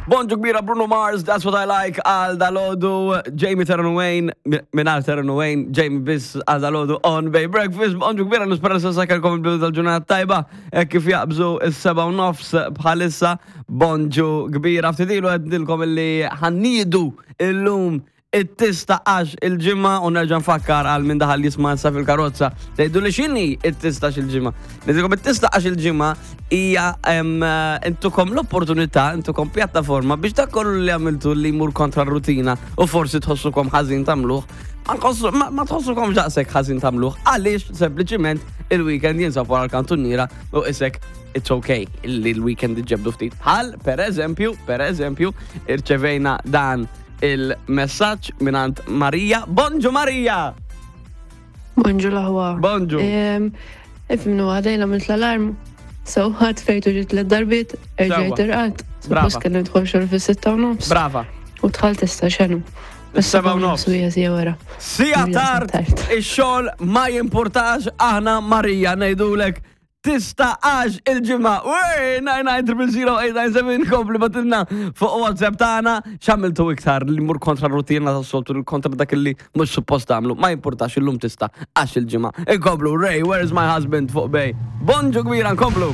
Bonġu kbira Bruno Mars, That's What I Like, għal dalodu, Jamie Terran Wayne, minar Terran Wayne, Jamie biss għal dalodu on Bay Breakfast. Bonġu kbira nispera se sakelkom il-bidu tal-ġurnata tajba, hekk kif jaqbżu is-seba' u nofs bħalissa. Bonġu kbira ftit ilu għednilkom illi ħannidu illum it-tista għax il-ġimgħa u nerġa' nfakkar għal min daħal jisma' issa fil-karozza. Tgħidu li x'inhi it-tista il-ġimgħa. Ngħidilkom it-tista għax il-ġimgħa hija intukom l-opportunità, intukom pjattaforma biex dak kollu li għamiltu li jmur kontra r-rutina u forsi tħossukom ħażin tagħmluh. Ma tħossukom daqshekk ħażin tagħmluh għaliex sempliċiment il-weekend jinsab wara l-kantuniera u isek it's okay li l-weekend iġġebdu ftit. Bħal, per eżempju, per eżempju, irċevejna dan il-messaġġ mingħand Marija. Bonġu Marija! Bonġu l-aħwa. Bonġu. Ifimnu għadajna mill l-alarm. So, ħadd fejtu ġiet l darbiet, erġajt irqad. Suppost kelli nidħol xogħol fis-sitta u nofs. Brava. U dħalt issa xenu. Is-seba' u nofs. Sija wara. Sija tard, ix-xogħol ma jimpurtax aħna Marija ngħidulek Tista għax il-ġimgħa. Wey, 9900897 kompli batilna fuq WhatsApp tagħna x'għamiltu iktar li mur kontra rutina tas-soltu kontra dak li mhux suppost tagħmlu. Ma jimpurtax illum tista għax il-ġimgħa. Inkomplu Ray, where's my husband fuq Bay. Bonġu kbira nkomplu.